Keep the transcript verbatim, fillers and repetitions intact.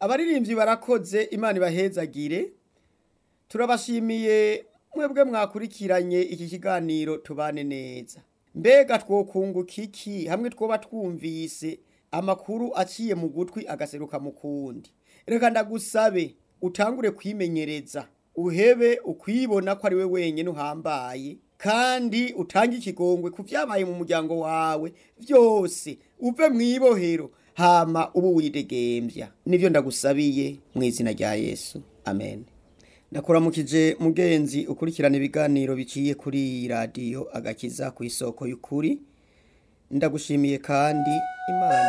Abaririmbyi barakoze, Imana ibahezagire. Turabashimiye mwebwe mwakurikiranye iki kiganiro Tubane Neza. Mbega twokunguka iki hamwe twoba twumvise amakuru aciye mu gutwi agaseruka mu kundi? Reka ndagusabe utangure kwimenyereza, uhebe ukwibona ko ari we wenyene uhambaye, kandi utange ikigongwe ku vyabaye mu muryango wawe vyose, uve mw'ibohero hama ube uwidegemvya. Nivyo ndagusabiye mw'izina rya Yesu, amen. Ndakuramukije mugenzi ukurikirana ibiganiro biciye kuri iyi radiyo Agakiza kw'isoko y'ukuri, ndagushimiye kandi Imana